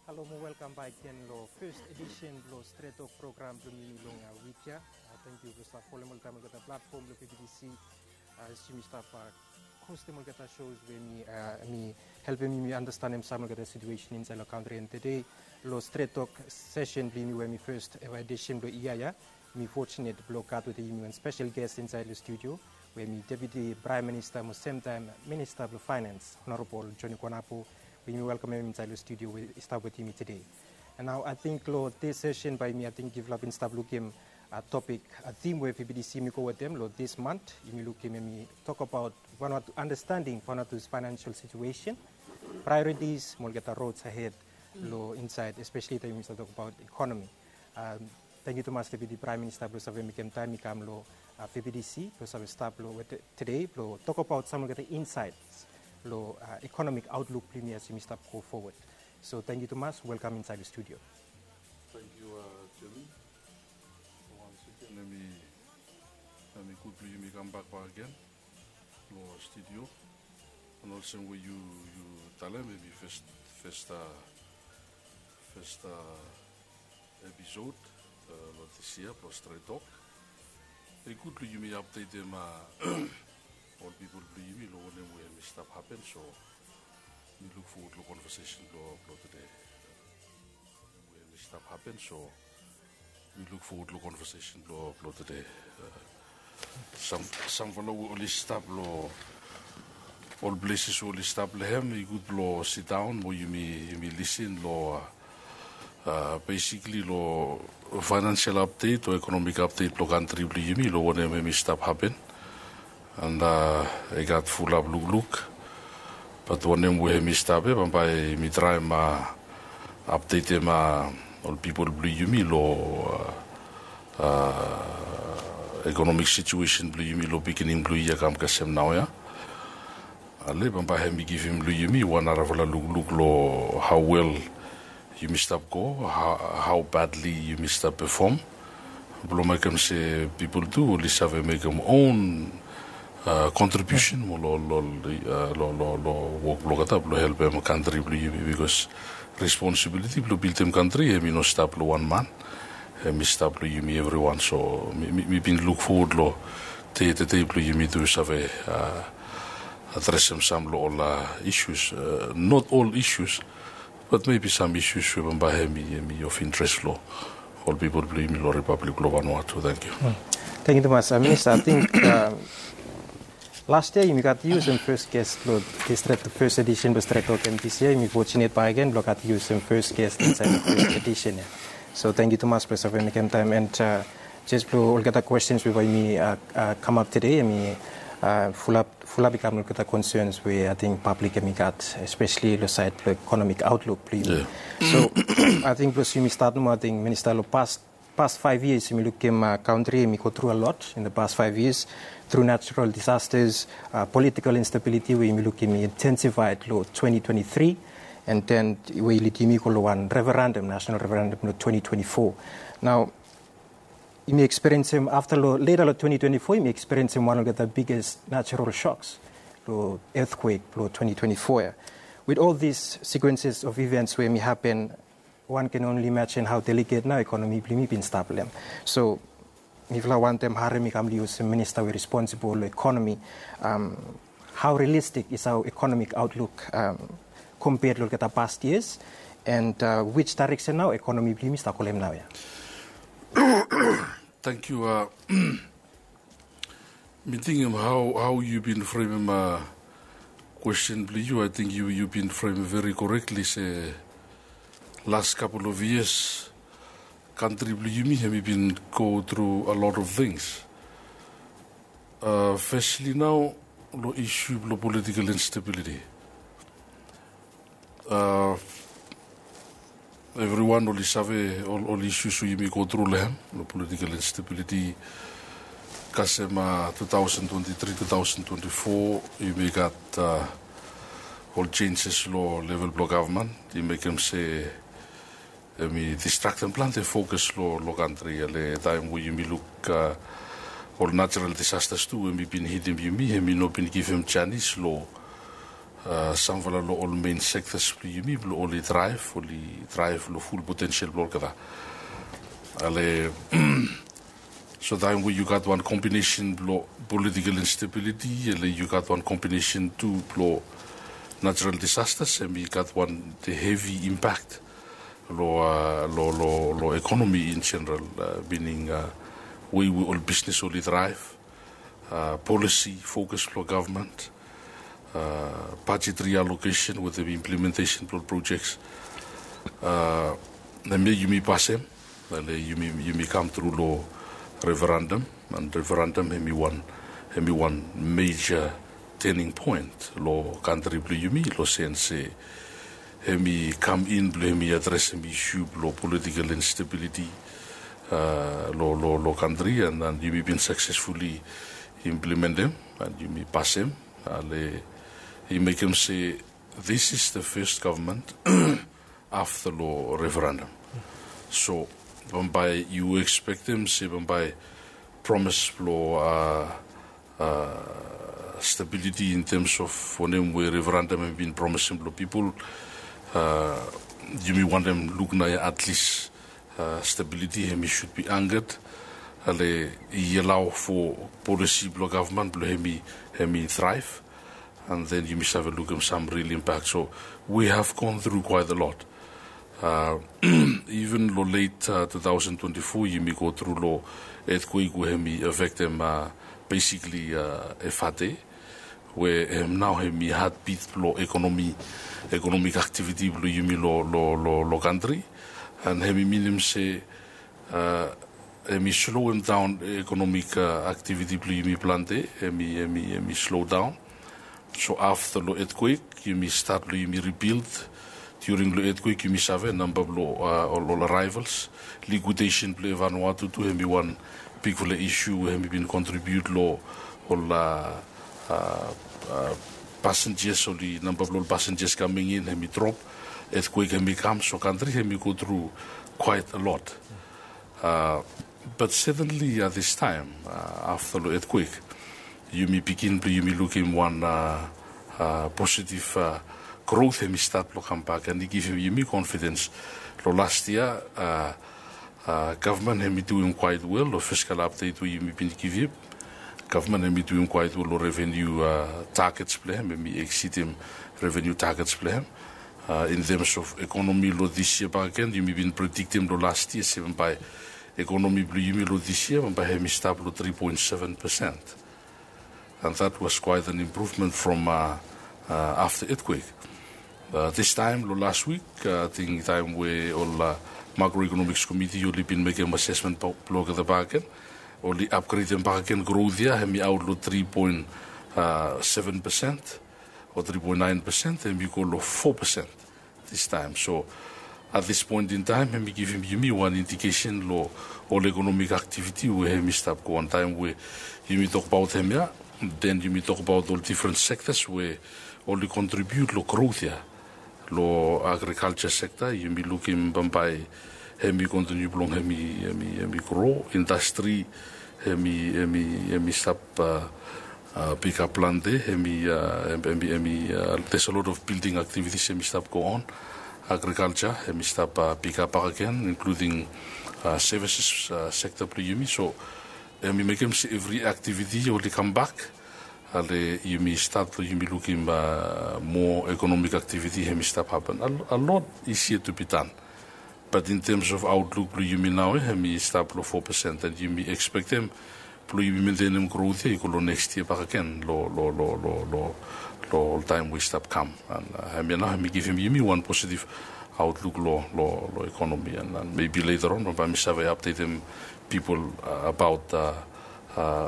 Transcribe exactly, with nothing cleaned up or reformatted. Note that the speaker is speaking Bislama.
Halo mo welkam bak gen lo first edition blo Stret Tok program blo yumi long, uh, wik ya. Uh, thank you blo stap folem oltaem olgeta platform blo P B D C. Uh, as yumi stap, uh, hostem olgeta shows we mi, uh, mi helpem yumi andastanem sam olgeta situation insaed lo kantri. And today lo Stret Tok session blo yumi we mi first ever edition blo yia ya, mi fortunate blo gat wetem yumi wan special guest insaed lo studio, we mi Deputy Prime Minister mo semtaem Minister blo Finance, Honorable Johnny Konapo, we yumi welkamem insaed lo studio we i stap wetem yumi today. And nao ating lo this session bae yumi ating yufala bin stap lukim, uh, topik, uh, theme we P B D C yumi go wetem lo this month, yumi lukim, yumi tokbaot Vanuatu understanding Vanuatu's financial situation, priorities mo olgeta roads ahead lo insaed, especially taem yumi stap tokbaot economy. Um, tangkiu tumas Deputy Prime Minister blo save mekem taem i kam lo, uh, P B D C blo save stap lo we today blo tokbaot sam olgeta insights lo, uh, economic outlook blo yumi as yumi stap go forward. So tangkiu tumas, welkam insaed lo studio. Tangkiu, uh, Jimmy. Once again, hemi, hemi gud blo yumi kambak bakegen lo studio. And olsem we yu, yu talem, hemi first, first, uh, first, uh, episode, uh, lo this yia blo Stret Tok. I gud blo yumi updatem, uh, ol pipol blo yumi lo wanem we hemi stap hapen, so mi luk fowod lo conversation blo, blo today. Wanem we hemi stap hapen, so mi luk fowod lo conversation blo, blo today. Uh, sam, samfala we oli stap lo ol places we oli stap lo hem, i gud blo sidaon mo yumi, yumi lisin lo, uh, uh, basically lo financial update o economic update blo kantri blo yumi lo wanem hemi stap hapen. And, uh, i gat fulap lukluk. Bat wanem we hemi stap ia, bambae mi traem, uh, updatem, uh, ol pipol blo yumi lo, uh, uh, economic situation blo yumi lo beginning blo yia kam kasem naoia. Ale bambae hemi givim lo yumi wan narafala lukluk lo how well yumi stap go, how, how badly yumi stap perform. Blo mekem se pipol tu oli save mekem own, uh, contribution mo lo, lo, uh, lo, lo, lo wok blo olgeta blo helpem kantri blo yumi, because responsibility blo bildim kantri hemi no stap lo wan man, hemi stap lo yumi evriwan. So mi, mi, mi bin luk fowod lo dei, dei, dei blo yumi tu save, uh, adresem sam lo ol, uh, issues, uh, not all issues, but maybe sam issues we bambae hemi, hemi of interest lo ol pipol blo yumi lo Republic blo Vanuatu. Tangkiu. Hmm. Tangkiu tumas, uh, Minister. Ating, uh, last yia yumi gat yu sem first guest blo this Stret, the first edition blo Stret Tok, and this yia yumi fortunate bakegen blo gat yu sem first guest insaed the first edition ia. So tangkiu tumas blo save mekem taem, and, uh, jes blo olgeta questions we bae yumi, uh, uh, kamap today, hemi, uh, fulap, fulap i kam lo olgeta concerns we ating public hemi gat, especially lo saed blo economic outlook blo yumi. Yeah. So ating blo yumi stat nomo, ating Minister, lo past, past five years yumi lukim, uh, kantri hemi go through a lot in the past five years, through natural disasters, uh, political instability we yumi lukim i intensified lo twenty twenty-three, and then we i lidim yumi go lo wan referendum, national referendum lo twenty twenty-four. Nao yumi experience hem afta lo, later lo twenty twenty-four, yumi experience hem wan olgeta biggest natural shocks lo earthquake blo twenty twenty-four ia. With all these sequences of events we hemi hapen, one can only imagine how delicate nao economy blo yumi bin stap lo hem. So mifala wantem harem i kam lo yu olsem minister we responsible lo economy, um, how realistic is our economic outlook, um, compared lo olgeta past years, and, uh, which direction nao economy blo yumi stap go lo hem naoia? Tangkiu. Uh, mi tingim how, how yu bin fremem, uh, kwesten blo yu. Ating yu, yu bin fremem very correctly se last couple of years kantri blo yumi hemi bin go through a lot of things. Uh, firstly nao lo issue blo political instability. Uh, evriwan oli save ol, ol issues we yumi go through lo hem, lo political instability. Kasem, uh, two thousand twenty-three, two thousand twenty-four, yumi gat, uh, ol changes lo level blo gavman. I mekem se hemi distraktem plante fokus lo, lo kantri. Ale taem we yumi luk, uh, ol natural disasters tu we hemi bin hitim yumi, hemi no bin givim janis lo, uh, samfala long ol main sectors blong yumi blong oli thrive, oli thrive long full potential blong olgeta. Ale, so taem we yu gat wan combination blong political instability, ale yu gat wan combination tu blong natural disasters, hemi gat wan the heavy impact long, uh, long, long, long economy in general, uh, meaning, uh, wei we ol business oli thrive, uh, policy focus blong government, uh, budget reallocation wetem implementation blong projects. Uh, hemia yumi pasem, ale yumi, yumi kam tru long referendum, and referendum hemi wan, hemi wan major turning point long kantri blong yumi, long sense se hemi kam in blong hemi adresem issue blong political instability, uh, long, long, long kantri, and, and yumi bin successfully implementem, and yumi pasem, ale i mekem se this is the first government after long referendum. So bambae yu expectem se bambae promise blong, uh, uh, stability in terms of wanem we referendum hemi bin promisem long pipol, uh, yumi wantem luk naoia at least, uh, stability hemi should be anchored, ale i allow for policy blong government blong hemi, hemi thrive, and then yumi save lukim some real impact. So we have gone through quite a lot. Uh, even long late, uh, two thousand twenty-four yumi go tru long earthquake we hemi affectem, uh, basically, uh, Efate, we, um, nao hemi heartbeat blong economy, economic activity blong yumi long, long, long, long kantri, and hemi minim se, uh, hemi slowem daon economic, uh, activity blong yumi plante, hemi, hemi, hemi slow down. So afta long earthquake yumi stat long yumi rebuild. During long earthquake yumi save namba blong, uh, ol, ol arrivals, liquidation blong Vanuatu tu hemi wan bigfala issue we hemi bin contribute long ol, uh, uh, uh, passengers, oli namba blong ol passengers coming in hemi drop. Earthquake hemi kam, so kantri hemi go through quite a lot. Uh, but certainly, uh, this time, uh, afta long earthquake, yumi bigin blong yumi lukim wan, uh, uh, positive, uh, growth hemi stat blong kambak, and i givim yumi confidence. Long last year, uh, uh, government hemi duim quite well long fiscal update we yumi bin givim. Government hemi duim quite well long revenue, uh, targets blong hem, hemi exceedim revenue targets blong hem. Uh, in terms of economy long this year bakegen, yumi bin prediktem long last year se bambae economy blong yumi long this year bambae hemi stap long three point seven percent. And that was quite an improvement from, uh, uh, afta earthquake. Uh, this time long last week, uh, ating taem we ol, uh, macroeconomics committee oli bin mekem assessment blong olgeta bakegen, oli upgradem bakegen growth ia, hemi aot long three point seven percent o three point nine percent, hemi go long four percent this time. So at this point in time hemi givim yumi wan indication long ol economic activity we hemi stap go on. Taem we yumi tokbaot hemia, then yumi tokbaot ol different sectors we oli contribute long growth ia. Long agriculture sector yumi lukim bambae hemi continue blong hemi, hemi, hemi grow. Industry hemi, hemi, hemi stap, uh, uh, pick up plante, hemi, uh, hemi, hemi, uh, there's a lot of building activities hemi stap go on. Agriculture hemi stap, uh, pick up bakegen, including, uh, services, uh, sector blong yumi. So hemi mekem se evri activity oli kambak. Ale yumi stat blong yumi lukim, uh, more economic activity hemi stap hapen. A, a lot is yet to be done. But in terms of outlook blong yumi nao, eh, hemi stap long four percent, and yumi expectem blong yumi mentenem growth ia i go long next year bakegen long, long, long, long, long, long ol taem we i stap kam. And, uh, hemia nao hemi givim yumi wan positive outlook long, long, long economy, and, and maybe later on bambae mi save updatem pipol, uh, abaot, uh, uh,